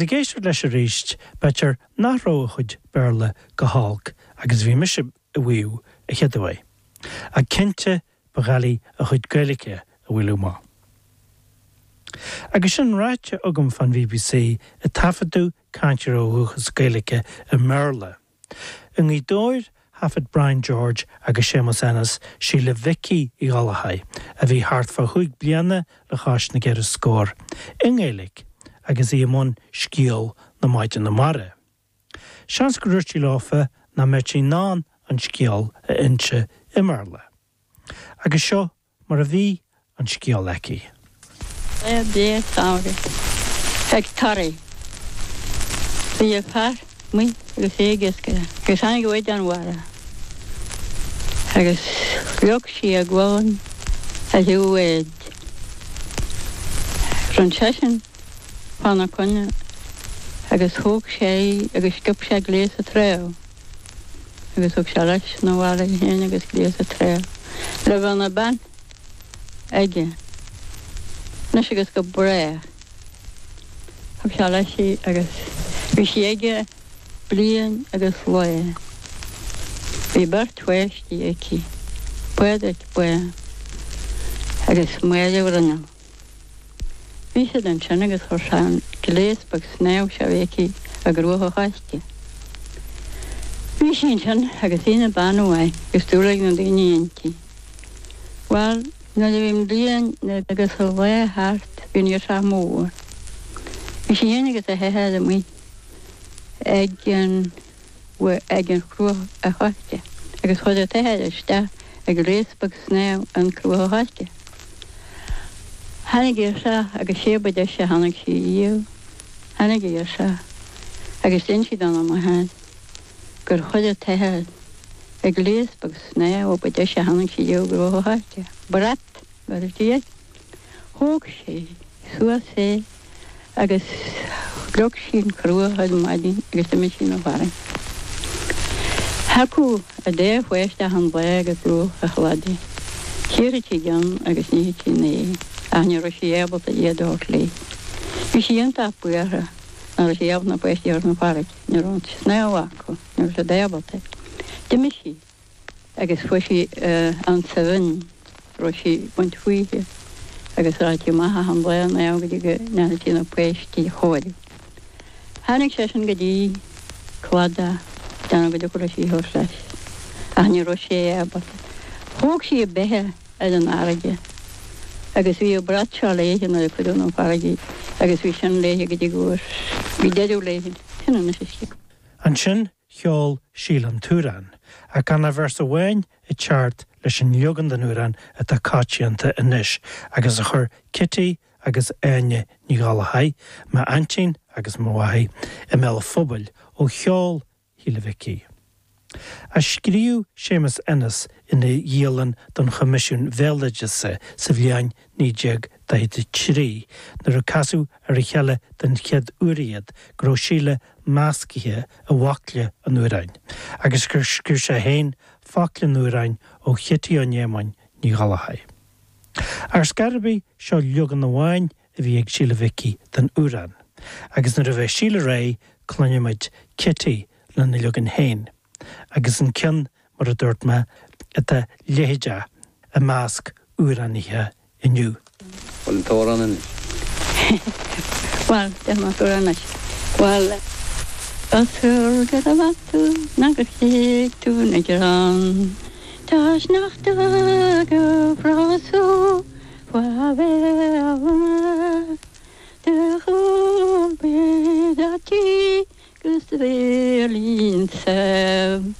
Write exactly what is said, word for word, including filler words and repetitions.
Ag éisteacht leis arís b'fhéidir nach raibh a chuid Béarla go holc agus bhí mise ag maíomh a chéaduair. Ach cinnte ba dhoiligh a chuid Gaeilge a bhualadh amach. Agus sin ráite agam fan BBC ag taifeadadh cainteoir ó dhúchas Gaeilge i mBéarla. I nGaoth Dobhair thaifead Brian George agus Séamus Ennis Síle Mhicí Uí Ghallchóir a bhí thart fá chúig bliana le cois na gceithre scór i nGaeilge agus í i mbun scéal na Maighdeana Mara. Seans gur dúirt sí leofa nach mbeadh sí in ann an scéal a inse i mBéarla. Agus seo mar a bhí an scéal aici. Bé ag tarí. Bhí fear amuigh agus é ag iascaireacht, agus tháinig an mhaighdean mhara. Agus shlog sí a gualainn ar thaobh an bháid. Rinn seisean fána coinne agus thóg sé agus sciob sé gléas sa trá. Agus thug sé leis na bhaile féin agus gléas sa trá. Le bheith ina bean aige. Anois agus go brách. Thug sé leis í agus bhí sí aige bliain agus lá. Bhí beirt pháistí aici, Pádraic Bán agus Máire Bhruinneall. Bhí siad ansin agus chuir sé an gléas beag snámha seo a bhí aici i gCruach an Choiste. Bhí sí ansin agus í ina bean mhaith agus dúil ag na daoine inti. Bhuel, nuair a bhí an bliain agus a lá thart bhí an ghirseach mór. Bhí sí féin agus a hathair amuigh ag an ag an Chruach a Choiste agus chuaigh an t-athair isteach ag gléas beag snámha an Cruach a Choiste. Tháinig ghirseach agus sé ba deise a tháinig sí riamh, tháinig ghirseach agus d'inis sí dona máthair gur chuir an t-athair ag gléas beag snámha ba deise a tháinig sí riamh i gCruach a Choiste. Brat mar a dúirt. Thóg sé suas é agus shlog sí an chruach ar maidin agus d'imigh sí na bhfearann. Thagadh a dá pháiste an lá go bruach an chladaigh. Chíorfaidh sí gceann agus ní sí né, ach ní raibh sí ábalta iad a thabhairt léi. Bhí sí iontach buartha nach raibh sí ábalta na páistí a thabhairt na farraige, ní raibh an snámh acu, ní raibh siad ábalta. D'imigh sí agus fuair sí an sabhain raibh sí ag baint fúithi agus raibh sí amach an lá ná go dtí go ndearna sí na páistí a chóiriú. Tháinig seisean go dtí cladach déanamh go dtiocfadh sí a thabhairt leis, ach ní raibh sé ábalta. Thóg sí a beithe ar an fharraige agus bhí an brat seo léi nuair a cuireadh na farraige agus bhí sin léi go dtí gur bhí deireadh léi sin anois istigh. Ansin cheol Síle an t-amhrán, ach gan ach véarsa amháin ag teacht leis an leagan den amhrán atá coitianta anois agus a chuir Kitty agus Áine Ní Ghallchóir, m'aintín agus mo mháthair i mbéal an phobail ó cheol Shíle Mhicí. A scríobh Séamus Ennis ina dhialann don Choimisiún Béaloideasa sa bhliain naoi déag daichead a trí, nuair a casadh ar a chéile den chéad uair iad go raibh Síle measctha i bhfocla an amhráin, agus gur scríobh sé féin focla an amhráin ó Chití Ó Néamáin Ní Ghallchóir. Ar scor ar bith seo leagan amháin a bhí ag Síle Mhicí den amhrán, agus nuair a bheidh Síle réidh cluinfimid Kitty lena leagan féin, agus an ceann mar a dúirt mé atá leitheadach i measc amhránaithe inniu. Bhfuil an t-amhrán anois. Bhuel, deich má anois. Bhuel, Asúr go raibh tú ná gur chéig tú na gearán. Tá sneachta go frású fa bhéala De chúl tí gus bhélín sem.